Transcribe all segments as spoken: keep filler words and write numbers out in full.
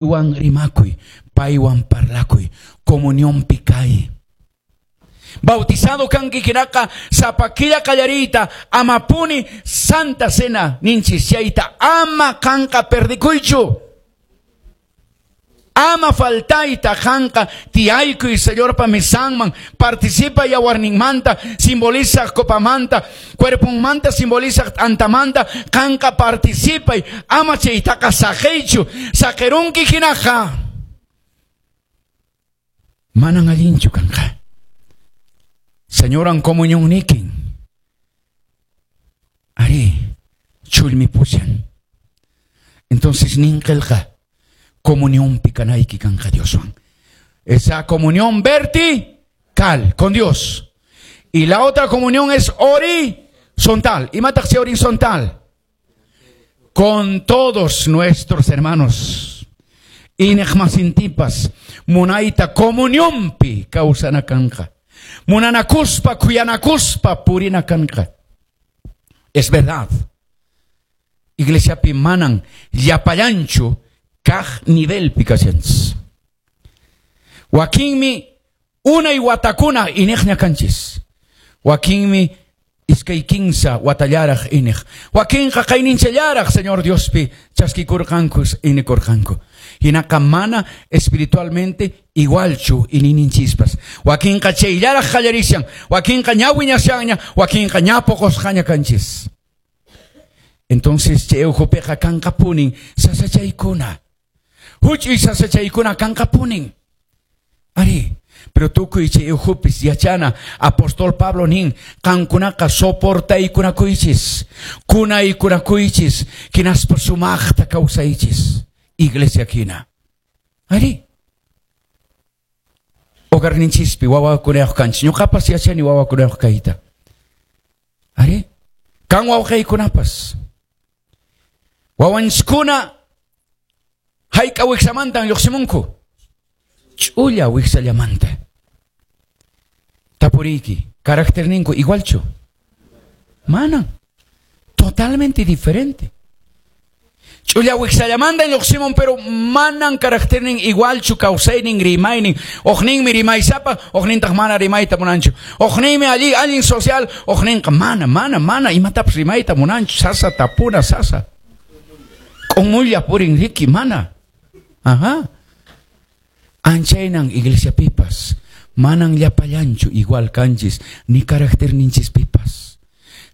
Paywan rimakuy, paywan parlakuy, comunionpi kay. Bautizado kanki hinaqa sapa killa qallariyta amapuni Santa Cena ninchis chayta ama qanqa perdikuychu. Ama faltayta qanqa tiyaykuy Señorpa mesanman, participa yawarninmanta, simboliza copamanta, cuerponmanta simboliza t'antamanta, qanqa participay, ama chaytaqa saqiychu, saqirunki hinaqa. Manan allinchu kanqa. Señoran comunión nikin. Ari, chulmi pushan. Entonces nin qillqa comunión kanayki kanqa Dioswan. Esa comunión vertical con Dios. Y la otra comunión es horizontal. ¿Imataq chay horizontal? Con todos nuestros hermanos. Iñiqmasintipas munayta comunionpi kawsana kanqa. Munanakuspa, khuyanakuspa, purina kanqa. Es verdad. Iglesiapi manan llapallanchu kaq nivelpi kashanchis. Wakinmi unay watakuna iñiqña kanchis. Wakinmi iskay kinsa watallaraq iñiq. Wakinqa qayninchallaraq Señor Diospi chaskikurqanku iñikurqanku. Hinaqa mana espiritualmente igualchu iñiyninchispas. Wakinqa chayllaraq qallarishan, wakinqa ña wiñashanña, wakinqa ña poqosqaña kanchis. Entonces chay ukhupiqa kanqapunin sasachaykuna. Huch'uy sasachaykuna kanqapunin. Ari, pero tukuy chay ukhupis yachana apóstol Pablo nin qankunaqa soportaykunakuychis, kunaykunakuychis, hinaspa sumaqta kawsaychis. Iglesia hina. Ari. Hogarninchispi wawakunayuq kanchis. Ñuqapas yachani wawakunayuq kayta. Ari. Kan wawqaykunapas. Wawanchiskuna hayk'a wiksamantan lluqsimunku. Ch'ulla wiksallamanta. Tapuriyki, caracterninku igualchu? Mana. Totalmente diferente. Ch'ulla wiksallamanta lluqsimun, pero manan caracternin igualchu kawsaynin rimaynin. Uqninmi rimaysapa, uqnintaq mana rimayta munanchu. Uqninmi allí allin social, uqninqa mana, mana, mana imatapas rimayta munanchu. Sasa tapuna, sasa. K'umulla purin riki, mana. Ajá. Anchaynan iglesia pipas. Manan llapallanchu igual kanchis, ni caracterninchis pipas.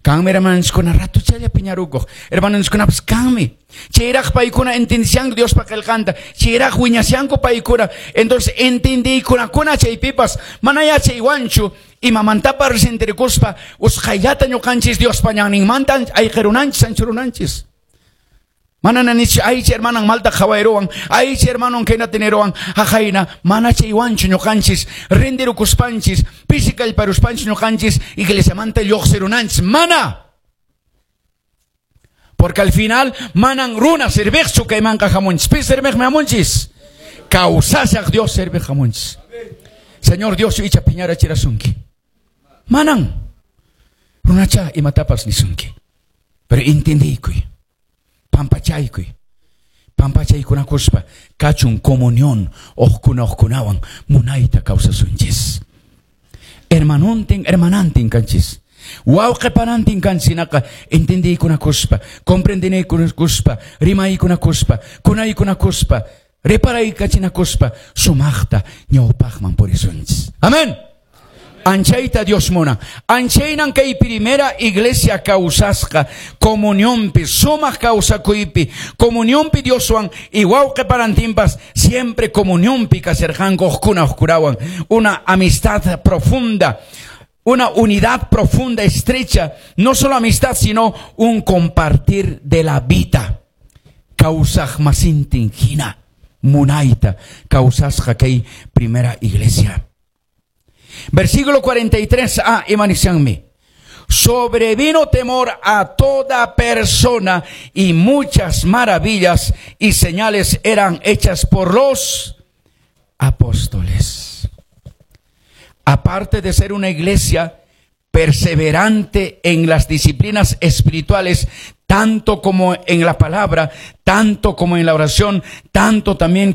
Kanmi hermanonchiskuna ratuchalla piñarukuq. Hermanonchikunapas kanmi. Chayraq paykuna entendishanku Diospa qillqanta. Chayraq wiñashanku paykuna. Entonces entendiykunakuna chaypipas mana yachaywanchu imamantapas resentirikuspa usqhayllata ñuqanchis Diospa ñanninmanta ayqirunanchis anchurunanchis. Mana nanichu aychi hermanan malta qhawayruwan, aychi hermanon khaynata niruwan, haqayna mana chaywanchu ñuqanchis rendirukuspanchis, pisi kallparuspanchis ñuqanchis iglesiamanta lluqsirunanchis, mana. Porque al final manan runa serviqchu kaymanqa hamunchis, pi serviqmi hamunchis. Kawsashaq Dios serviq hamunchis. Señor Dios icha piñarachirasunki. Manan. Runacha imatapas nisunki. Pero entendiykuy. Pampachaykuy. Pampachaykunakuspa kachun comunión uqkuna uqkunawan munayta kawsasunchis. Hermanontin, hermanantin kanchis. Wawqi panantin kanchis hinaqa entendiykunakuspa, comprendinaykunakuspa, rimaykunakuspa, kunaykunakuspa, reparaykachinakuspa sumaqta ñawpaqman purisunchis. Amén. Anchayta Dios munan. Anchaynan kay primera iglesia kawsasqa comunionpi, sumaq kawsakuypi, comunionpi Dioswan y wawqi panantinpas siempre comunionpi kasharqanku uqkuna uqkunawan. Una amistad profunda, una unidad profunda, estrecha, no solo amistad, sino un compartir de la vida. Kawsaq masintin hina, munayta, kawsasqa kay primera iglesia. Versículo cuarenta y tres a, imanishanmi. Sobrevino temor a toda persona y muchas maravillas y señales eran hechas por los apóstoles. Aparte de ser una iglesia perseverante en las disciplinas espirituales, tanto como en la palabra, tanto como en la oración, tanto también como